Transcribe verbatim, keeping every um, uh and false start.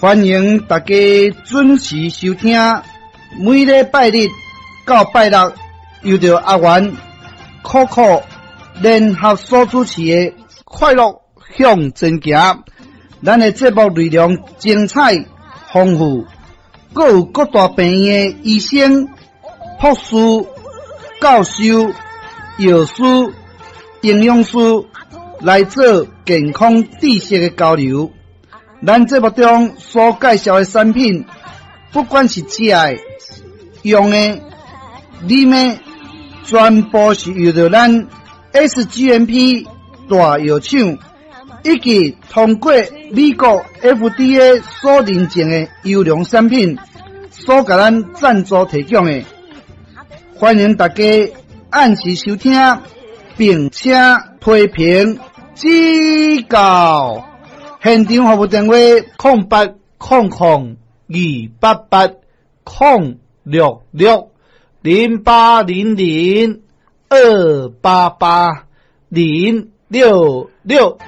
歡迎大家準時收聽，每禮拜日到拜六，由著阿元、可可聯合所主持的《快樂向前行》。咱的節目內容精彩豐富，閣有各大病院的醫生、博士、教授、藥師、營養師來做健康知識的交流。咱節目中所介紹的產品，不管是食的、用的、啉的，全部是由著咱 S G M P 大藥廠以及通過美國 F D A 所認證的優良產品，所共咱贊助提供的。歡迎大家按時收聽，並且批評指教。現場服務電話：空八空空二八八空六六零八零零二八八零六六。